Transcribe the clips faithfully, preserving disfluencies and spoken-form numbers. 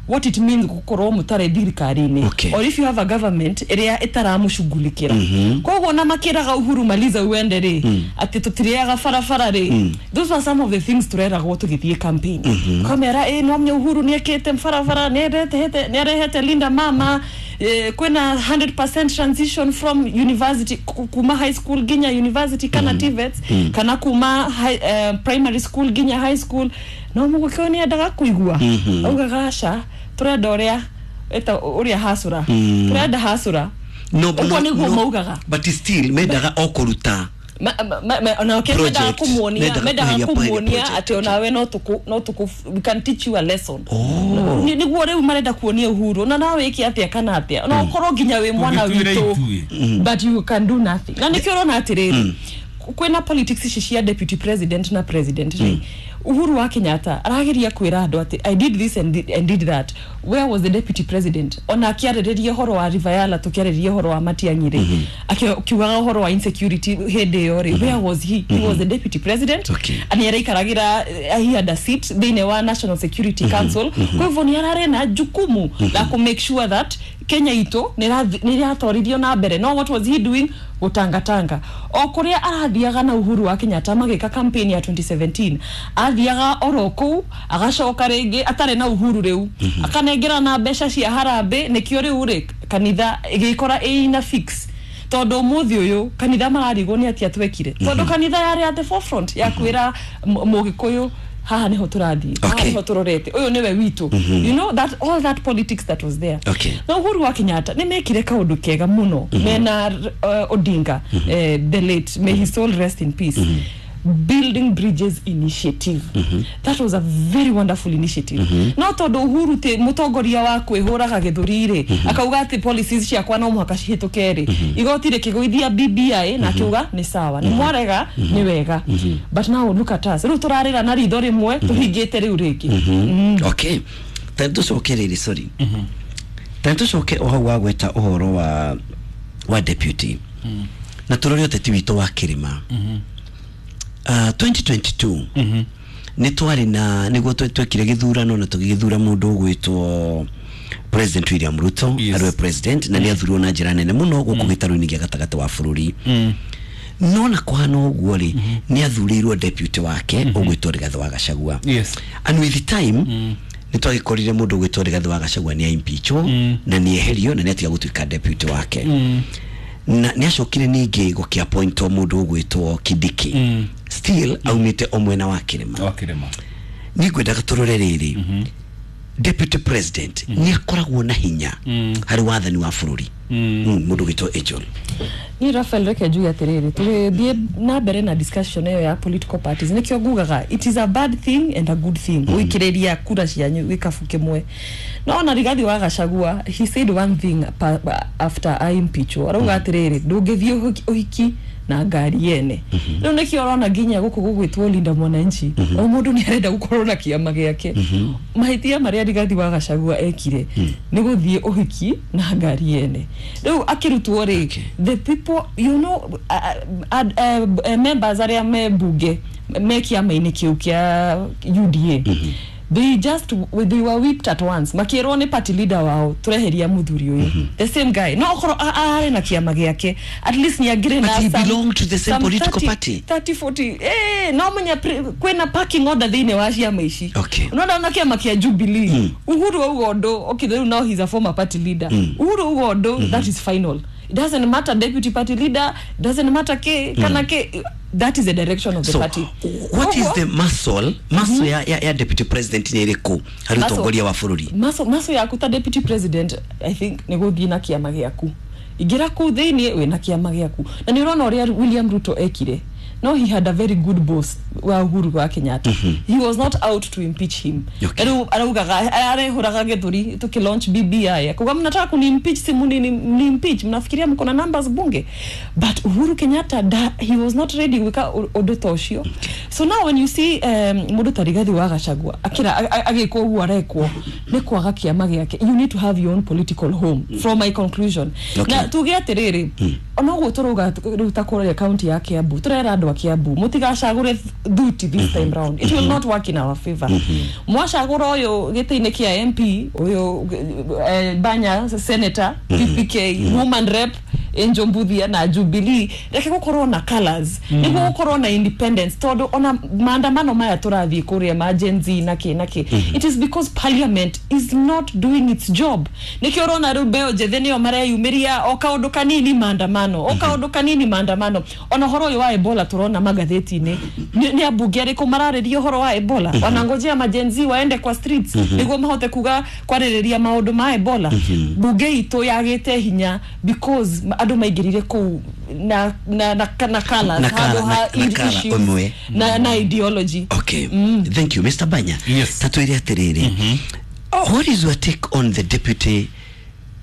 What it means gukorwo mutare thirikari-inĩ, Okay. or if you have a government ĩrĩa ĩtaramũcughulikĩra. Koguo na makĩraga Uhuru maliza uende rĩ, atĩ tũtirĩaga barabara rĩ, those were some of the things tũreragwo tũgĩthiĩ campaign. Kamera ĩ no menya Uhuru nĩekĩte barabara, nĩarehete nĩarehete Linda Mama, eh, kwĩna one hundred percent transition from university, ku- kuma high school nginya university kana T V E Ts, kana kuma high, eh, primary school nginya high school. No mũgũkĩo nĩendaga kũigua augaga aca, tũrenda ũrĩa ĩta ũrĩa hasũra, tũrenda hasũra. No, Ũguo no, nĩguo no, maugaga. But still mendaga o kũruta Ma- ma- ma- ona ke mendaga project. kumuonia Mendaga mendaga kweheria kumuonia project. atĩ onawe no tũkũ no tũkũ we can teach you a lesson. Oh. Nĩ- nĩguo rĩu marenda kuonia Uhuru na nawe wĩke atĩa kana atĩa, no ũkorwo nginya wĩ mwana Tũgĩtuĩre witũ, ithuĩ. but you can do nothing. Na nĩkĩo ũrona atĩrĩrĩ, kwĩna politics ici cia deputy president na president rĩ, Uhuru wa Kenyatta arageria kwĩra andũ atĩ "I did this and did, and did that." Where was the deputy president ona akĩarĩrĩria ũhoro wa River Yala, tũkĩarĩrĩria ũhoro wa Matiang'i rĩ, akiugaga ũhoro wa insecurity hĩndĩ ĩyo rĩ? Where was he? He was the deputy president. Okay. Nĩ araikaragĩra, eh, he had a seat thĩinĩ wa National Security Council. Kwa hivyo nĩ ararĩ na jukumu la ku make sure that Kenya itũ nĩ ĩratwarithio na mbere. No what was he doing? Gũtangatanga o kũrĩa arathiaga na Uhuru wa Kenyatta magĩka campaign ya twenty seventeen, athiaga oro kũu, agacoka rĩngĩ atarĩ na Uhuru, rĩu akanengera na mbeca cia harambĩ. Nĩkĩo rĩu rĩ kanitha ĩgĩkora ĩina fix, tondũ ũmũthĩ ũyũ kanitha mararigwo nĩ atia twekire, tondũ kanitha yarĩ at the forefront ya kwĩra m- mũgĩkũyũ haha nĩho tũrathiĩ, haha Okay. nĩho tũrorete, ũyũ nĩwe witũ, you know that all that politics that was there. Okay. Na Uhuru wa Kenyatta nĩ mekire kaũndũ kega mũno mena uh, Odinga, eh, the late, may his soul rest in peace, Building Bridges Initiative. That was a very wonderful initiative. No tondũ Uhuru ti mũtongoria wa kwĩhũraga gĩthũri rĩ, akauga atĩ policies ciakwa no mũhaka cihĩtũke rĩ, igoti rĩkĩgũithia B B I na akiuga nĩ sawa, nĩ mwarega, nĩ wega. But now look at us, rĩu tũrarĩra na ritho rĩmwe tũhingĩte rĩu rĩngĩ. Okay, tani tũcoke rĩrĩ, sorry, tani tũcoke o hau wagweta ũhoro wa wa deputy na tũrore ũteti witũ wa kĩrĩma. uh, twenty twenty-two nĩ twarĩ na nĩguo twe- twekire gĩthurano na tũgĩgĩthura mũndũ ũgwĩtwo President William Ruto Yes. arĩwe president, na nĩ athurirwo na njĩra nene mũno gũkũ gĩtarũ-inĩ gĩa gatagatĩ wa bũrũri. No na kũhana ũguo rĩ, nĩ athurĩirwo deputy wake ũgwĩtwo Rigathĩ wa Gachagua. Yes. And with time nĩ twagĩkorire mũndũ ũgwĩtwo Rigathĩ wa Gachagua nĩ aimpeachwo na nĩ eherio na nĩ atiga gũtuĩka deputy wake, na nĩ acokire ningĩ gũkĩappointwo mũndũ ũgwĩtwo Kindiki, still aumĩte o mwena wa kĩrĩma. Wa kĩrĩma. Niĩ ngwendaga tũrore rĩrĩ, deputy president nĩ akoragwo na hinya harĩ wathani wa bũrũri? Mm, mũndũ ũgwĩtwo Angel. Niĩ Rafael, reke njuge atĩrĩrĩ, tũgĩthiĩ na mbere na discussion ĩyo ya political parties, nĩkĩo ngugaga it is a bad thing and a good thing gũikĩrĩria kura cianyu gĩkabu kĩmwe. No ona Rigathi wa Gachagua, he said one thing pa, after I impeachwo, arauga atĩrĩrĩ, ndũngĩthiĩ ũhiki- ũhiki na ngari yene. Rĩu nĩkĩo ũrona nginya gũkũ gũgwĩtwo Linda Mwananchi, o mũndũ nĩ arenda gũkorwo na kĩama gĩake. Mahĩtia marĩa Rigathi wa Gachagua ekire nĩ gũthiĩ ũhiki na ngari yene. Rĩu akĩrutwo rĩ, Okay. the people, you know uh, uh, uh, uh, members arĩa me mbunge me kĩama-inĩ kĩu kĩa U D A, they just they were whipped at once, makĩrwo nĩ party leader wao, tũreheria mũthuri ũyũ. The same guy, no okorwo a- arĩ na kĩama gĩake, at least nĩ angĩrĩ But na he some- belonged to the same some political thirty, party. thirty, forty, eh, no menya pre- kwĩna parking order thĩinĩ wa ciama ici. Okay. Unaona ona kĩama kĩa Jubilee, Uhuru auga ũndũ, okay, rĩu now he's a former party leader, Uhuru auga ũndũ, that is final. It doesn't matter deputy party leader, doesn't matter ke kana ke, that is the direction of the So party. what is Koguo- the muscle muscle ya, ya, ya deputy president nĩ ĩrĩkũ harĩ Muscle- ũtongoria wa bũrũri? maso maso yaku ta deputy president, I think nĩ gũthiĩ na kĩama gĩaku, ingĩra kũu thĩinĩ wĩna kĩama gĩaku. Na nĩ ũrona ũrĩa William Ruto ekire. No he had a very good boss wa Uhuru wa Kenyatta. He was not out to impeach him. Okay. Rĩu araugaga, arehũraga gĩthũri tuki launch B B I, akuga mnataka kuni impeach, si muni ni, ni impeach, mnafikiria mko na numbers bunge? But Uhuru Kenyatta da, he was not ready gwĩka ũ- ũndũ ta ũcio. So now when you see um, mũndũ ta Rigathi wa Gachagua akĩra agĩkwo ũguo arekwo nĩ kwaga kĩama gĩake. You need to have your own political home, from my conclusion. Okay. Na tuge atĩrĩrĩ, Onoguo tũrauga rĩu ta kũrĩa kaunti ya Kiambu, tũrera andũ a Kiambu mũtigacagũre thuti this time round. It will not work in our favor. Mwacagũra ũyũ gĩtĩ-inĩ kĩa M P, ũyũ eh, Banya senator P P K, woman rep Angel Mbuthia na Jubilee, reke gũkorwo na colors nĩguo gũkorwo na independence, tondũ ona maandamano maya tũrathiĩ kũrĩa ma Gen Z na kĩ na kĩ, it is because parliament is not doing its job. Nĩkĩo ũrona rĩu mbeo njĩthĩ nĩo mareyumĩria, o kaũndũ kanini maandamano, o kaũndũ kanini maandamano. Ona ũhoro ũyũ wa Ebola tũrona magathĩti-inĩ, nĩ nĩ ambunge arĩkũ mararĩria ũhoro wa Ebola? Wanangojea ma Gen Z waende kwa streets nĩguo mahote kuga kwarĩrĩria maũndũ ma Ebola. Bunge itũ yagĩte hinya because andũ maingĩrire kũu na na na, na colors Na colour, handũ ha na- na colour issues ũmwe. na, na ideology. Okay, thank you, Mister Banya. Yes. Tatwire atiriri, what is your take on the deputy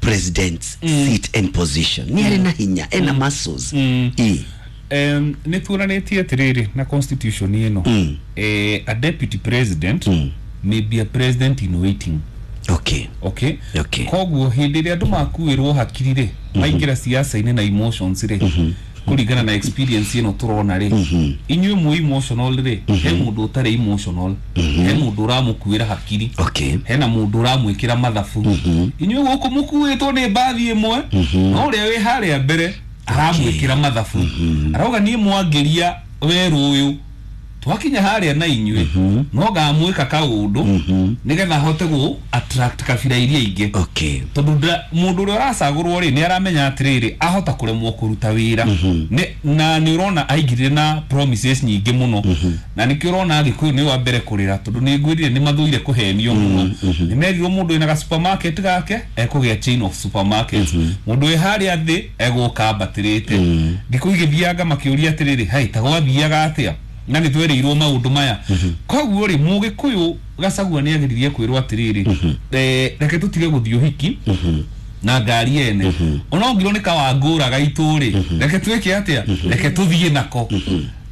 president's seat and position? Ni arĩ na hinya, ena muscles? I um, nä tuonanätie atä na constitution ĩno, Mm. eh, a deputy president Mm. may be a president in waiting. Okay okay. Okay. Koguo hĩndĩ ĩrĩa andũ makuĩrwo hakiri rĩ, maingĩra siasa-inĩ na emotions rĩ, kũringana na experience ĩno tũrona rĩ, inyuĩ mwĩ emotional rĩ, he mũndũ ũtarĩ emotional, he mũndũ ũramũkuĩra hakiri, okay hena mũndũ ũramwĩkĩra mathabu. Inyuĩ gũkũ mũkuĩtwo nĩ mbathi ĩmwe, no ũrĩa wĩ harĩa mbere aramwĩkĩra mathabu, arauga niĩ mwangĩria werũ ũyũ twakinya harĩa na inyuĩ no ngamwĩka kaũndũ nĩgetha hote gũ attract kabira iria ingĩ, okay tondũ nda- mũndũ ũrĩa ũracagũrwo rĩ, nĩ aramenya atĩrĩrĩ, ahota kũremwo kũruta wĩra. Nĩ- na nĩ ũrona aingĩrire na promises nyingĩ mũno, na nĩkĩo ũrona Agĩkũyũ nĩ wa mbere kũrĩra, tondũ nĩ ngwĩrire nĩ mathũire kũhenio mũno. Nĩ merirwo mũndũ wĩna ga supermarket gake ekũgĩa chain of supermarkets, mũndũ wĩ harĩa thĩ egũka ambatĩrĩte. Thikũ igĩthianga makĩũria atĩrĩrĩ, hai ta gwathiaga atĩa na nĩ twerĩirwo maũndũ maya? Koguo rĩ, Mũgĩkũyũ Gacagua nĩ ageririe kwĩrwo atĩrĩrĩ, eh, reke tũtige gũthiĩ ũhiki na ngari ene, ona ũngirwo nĩ kawangũra gaitũ rĩ, reke twĩke atĩa, reke tũthiĩ nako.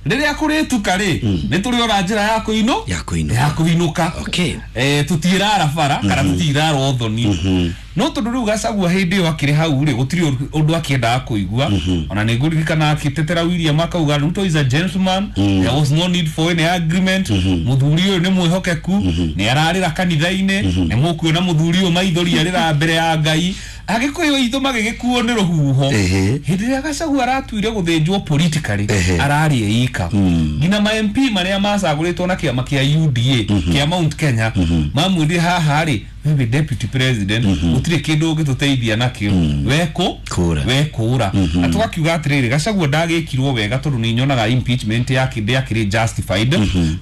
Rĩrĩa kũrĩtuka rĩ, nĩ tũrĩona njĩra ya kũinũ Ya kũinũka. Ya kũinũka. Okay. eh, tũtirara bara kana tũtirara ũthoni, no tondũ rĩu Gacagua hĩndĩ ĩyo akĩrĩ hau rĩ, gũtirĩ ũndũ akĩendaga kũigua. Ona nĩ ngũririkana akĩtetera William, akauga Ruto is a gentleman, there was no need for any agreement, mũthuri ũyũ nĩ mwĩhokeku, nĩ ararĩra kanitha-inĩ, nĩ mũkuona mũthuri ũyũ maithori arĩra mbere ya Ngai. Agĩkũyũ aitũ magĩgĩkuo nĩ rũhuho. Ehe. Hĩndĩ ĩrĩa Gacagua aratuire gũthĩnjwo politically, Ehe. ararĩ ika nginya ma M P marĩa macagũrĩtwo na kĩama kĩa U D A kĩa Mount Kenya mamwĩrire haha rĩ, wewe deputy president gũtirĩ kĩndũ ũngĩtũteithia nakĩo, wekũ Kũra. we kũra. Na tũgakiuga atĩrĩrĩ, Gacagua ndagĩkirwo wega, tondũ nĩ nyonaga impeachment yake ndĩakĩrĩ justified,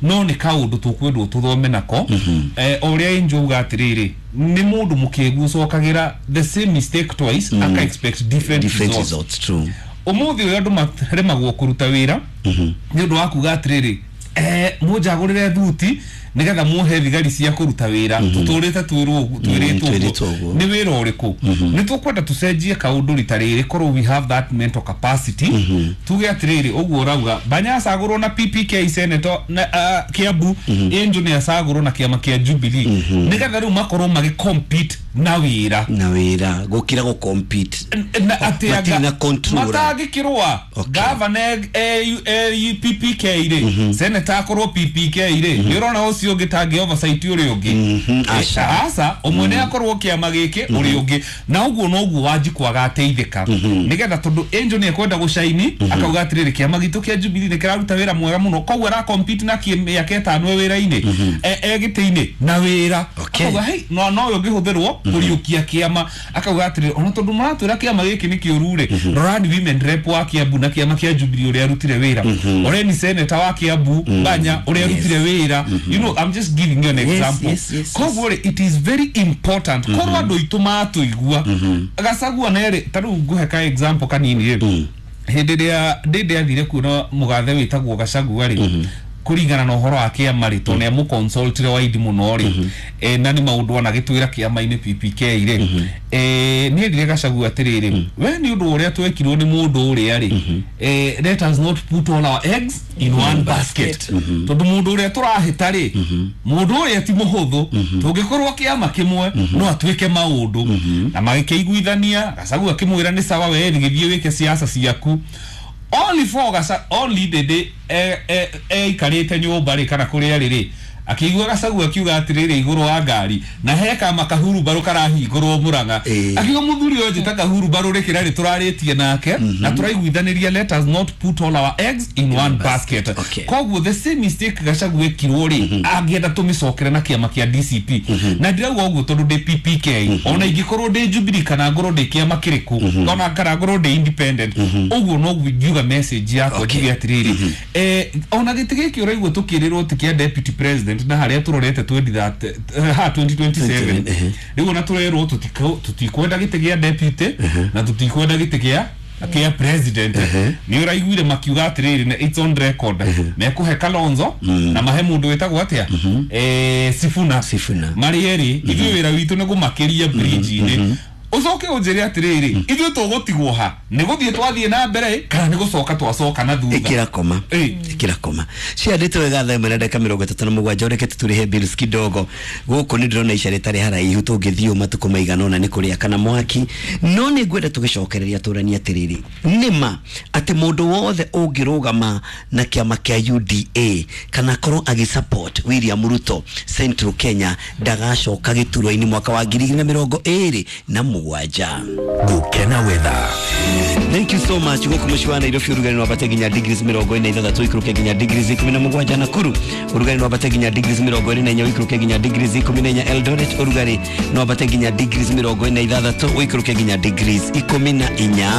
no nĩ kaũndũ tũkwendwo tũthome nako. Eh, o ũrĩa Angel uga atĩrĩrĩ, nĩ mũndũ mũkĩgu ũcokagĩra the same mistake twice aka expect different, different results. Results, true. Ũmũthĩ ũyũ andũ maremagwo kũruta wĩra nĩ ũndũ wa kuga atĩrĩrĩ, eh, mũnjagũrĩre thuti nĩgetha muhe thigari cia kũruta wĩra, tũtũrĩte twĩrwo twĩrĩtwo Twĩrĩtwo ũguo. ũguo. Nĩ wĩra ũrĩkũ? Nĩ tũkwenda tũcenjie kaũndũ rita rĩrĩ, korwo we have that mental capacity, tuge atĩrĩrĩ, ũguo ũrauga Banya acagũrwo na P P K senator na uh, Kiambu, Angel nĩ acagũrwo na kĩama kĩa Jubilee, nĩgetha rĩu makorwo magĩ compete na wĩra. Na wĩra gũkĩra gũ compete Na atĩ Matirĩ anga- na control. matangĩkĩrũa. Okay. Gavana e- e- P P K rĩ, senator akorwo P P K rĩ, nĩ ũrona ũcio ũngĩ tangĩ oversight ũrĩa ũngĩ? Mhm, aca. Aca, ũmwe nĩ akorwo kĩama gĩkĩ, ũrĩa ũngĩ na ũguo noguo Wanjikũ agateithĩka, nĩgetha tondũ Angel nĩ ekwenda gũcaini, akauga atĩrĩrĩ, kĩama gitũ kĩa Jubilee nĩ kĩraruta wĩra mwega mũno, koguo ara compete na kĩ- mĩaka ĩtano e wĩra-inĩ, e e gĩtĩ-inĩ na wĩra. Okay. Akauga hei, no no ũyũ ũngĩhũthĩrwo kũriũkia kĩama, akauga atĩrĩrĩ, ona tondũ mũratwĩra kĩama gĩkĩ nĩ kĩũru rĩ, rorani women rep wa Kiambu na kĩama kĩa Jubilee ũrĩa arutire wĩra, oreni senator wa Kiambu Banya ũrĩa arutire wĩra. You know, I'm just giving you an example. yes, yes, yes. Koguo rĩ, it is very important korwo andũ aitũ matũigua Gacagua nerĩ. Ta rĩu ngũhe ka example kanini rĩ, hĩndĩ ĩrĩa ndĩndĩ athire kuona mũgathe wĩtagwo Gacagua rĩ, Kuringana na ũhoro wa kĩama rĩ tondũ nĩ amũconsultire waidi mũno rĩ eh, na nĩ maũndũ anagĩtwĩra kĩama-inĩ P P K rĩ eh, nĩ erire Gachagua atĩrĩrĩ we nĩ ũndũ ũrĩa twekirwo nĩ mũndũ ũrĩa rĩ eh, let us not put all our eggs in one basket tondũ mũndũ ũrĩa tũrahĩta rĩ mũndũ ũrĩa ti mũhũthũ tũngĩkorwo kĩama kĩmwe no atuĩke maũndũ na magĩkĩiguithania Gachagua akĩmwĩra nĩ sawa we gĩthiĩ wĩke siasa ciaku only for Gasa only the day eh eh eikarite nyumba ri kana kuria riri akigua Gachagua akiuga atiriri iguru wa ngari na heka makahuru baru karahingurwo Murang'a akiuga muthuri uyu njita kahuru baru rikira ri turaritie nake na turaiguithaniria let us not put all our eggs in one basket. Koguo the same mistake Gachagua ekirwo ri angienda tumicokere na kiama kia D C P na ndirauga uguo tondu ndi P P K ona ingikorwo ndi Jubilee kana ngorwo ndi kiama kiriku ona kana ngorwo ndi independent uguo no ngiuga message yakwa njuge atiriri eh ona giti giki uraigua tukirirwo ti kia deputy president na haria turorete twenty ha twenty twenty-seven riu ona turerwo tutikwenda giti gia deputy na tutikwenda giti gia kia president ni uraiguire makiuga atiriri na it's on record mekuhe Kalonzo na mahe mundu wetagwo atia eh Sifuna Sifuna marieri ithuĩ wĩra witũ nĩ gũmakĩria bridge-inĩ ucoke unjire atiriri ithuĩ tũgũtigwo ha nĩ gũthiĩ twathiĩ na mbere kana nĩ gũcoka twacoka na thutha ikira koma ikira koma ciandĩtwo wega thaa ĩmwe na ndagĩka mĩrongo ĩtatũ na mũgwanja ũreke tũtũrĩhe bills kidogo gũkũ nĩ ndĩrona ica rĩtarĩ haraihu tũngĩthiĩ matukũ maigana ũna nĩ kũrĩa kana mwaki no nĩ ngwenda tũgĩcokereria tũranie atĩrĩrĩ nĩma atĩ mũndũ wothe ũngĩrũgama na kĩama kĩa U D A kana akorwo agĩsupport William Ruto Central Kenya ndagacoka gĩturwa-inĩ mwaka wa ngiri igĩrĩ na mĩrongo ĩrĩ na mũgwanja. Gukena weather. Thank you so much. Guku muciĩ wa Nairobi ũrugarĩ no wambate nginya degrees mĩrongo ĩna ithathatũ ikũrũke nginya degrees ikũmi na mũgwanja. Nakuru ũrugarĩ no wambate nginya degrees mĩrongo ĩrĩ na inya ũikũrũke nginya degrees ikũmi na inya. Eldoret ũrugarĩ no wambate nginya degrees mĩrongo ĩna ithathatũ ũikũrũke nginya degrees ikũmi na inya.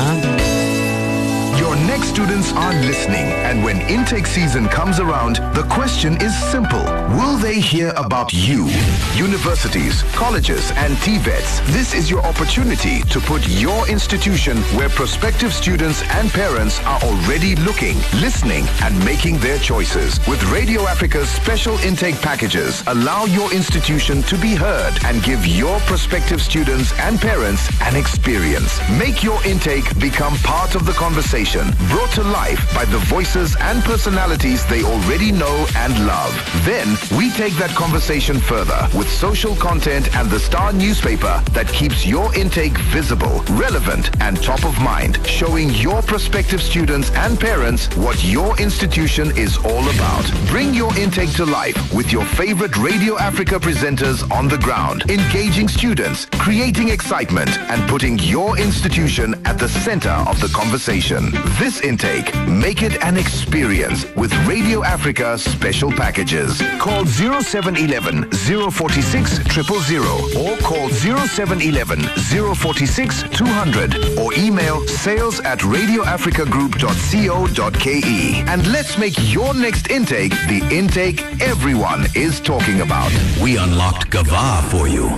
Your next students are listening, and when intake season comes around, the question is simple. Will they hear about you? Universities, colleges, and T VETs, this is your opportunity to put your institution where prospective students and parents are already looking, listening, and making their choices. With Radio Africa's special intake packages, allow your institution to be heard and give your prospective students and parents an experience. Make your intake become part of the conversation. Brought to life by the voices and personalities they already know and love. Then we take that conversation further with social content and the Star newspaper that keeps your intake visible, relevant, and top of mind, showing your prospective students and parents what your institution is all about. Bring your intake to life with your favorite Radio Africa presenters on the ground, engaging students, creating excitement, and putting your institution at the center of the conversation. This intake, make it an experience with Radio Africa special packages. Call zero seven eleven, zero four six, zero zero zero or call zero seven eleven, zero four six, two hundred or email sales at radio africa group dot co dot k e. And let's make your next intake the intake everyone is talking about. We unlocked Gava for you.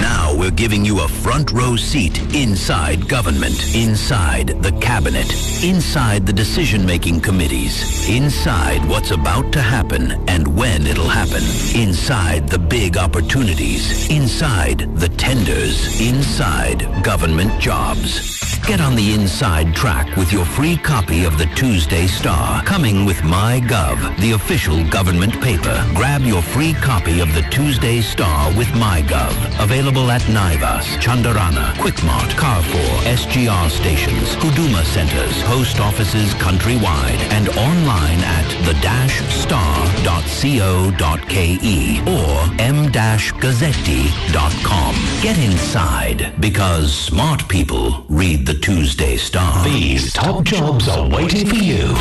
Now we're giving you a front row seat inside government, inside the cabinet, inside the decision-making committees, inside what's about to happen and when it'll happen, inside the big opportunities, inside the tenders, inside government jobs. Get on the inside track with your free copy of the Tuesday Star, coming with MyGov, the official government paper. Grab your free copy of the Tuesday Star with MyGov. Available at Naivas, Chandarana, Quickmart, Carrefour, S G R stations, Huduma centers, post offices countrywide, and online at the dash star dot co dot k e or m dash gazzetti dot com. Get inside, because smart people read the Tuesday Star. These top jobs are waiting for you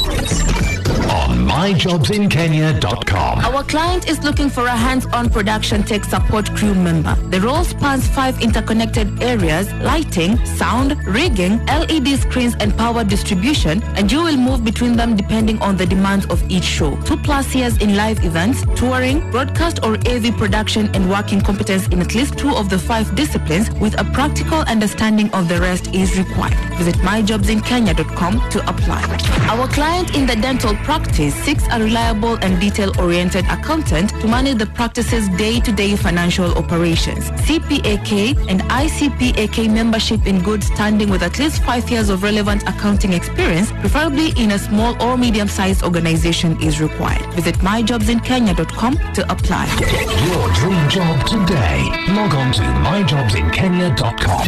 on my jobs in kenya dot com. Our client is looking for a hands-on production tech support crew member. The role spans five interconnected areas: lighting, sound, rigging, L E D screens, and power distribution, and you will move between them depending on the demands of each show. Two plus years in live events, touring, broadcast or A V production, and working competence in at least two of the five disciplines with a practical understanding of the rest is required. Visit my jobs in kenya dot com to apply. Our client in the dental practice practice seeks a reliable and detail-oriented accountant to manage the practice's day-to-day financial operations. C P A K and I C P A K membership in good standing with at least five years of relevant accounting experience, preferably in a small or medium-sized organization, is required. Visit my jobs in kenya dot com to apply. Get your dream job today. Log on to my jobs in kenya dot com.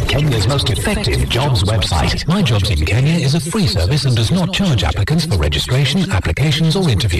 Kenya's most effective jobs website. My Jobs in Kenya is a free service and does not charge applicants for registration, applications or interviews.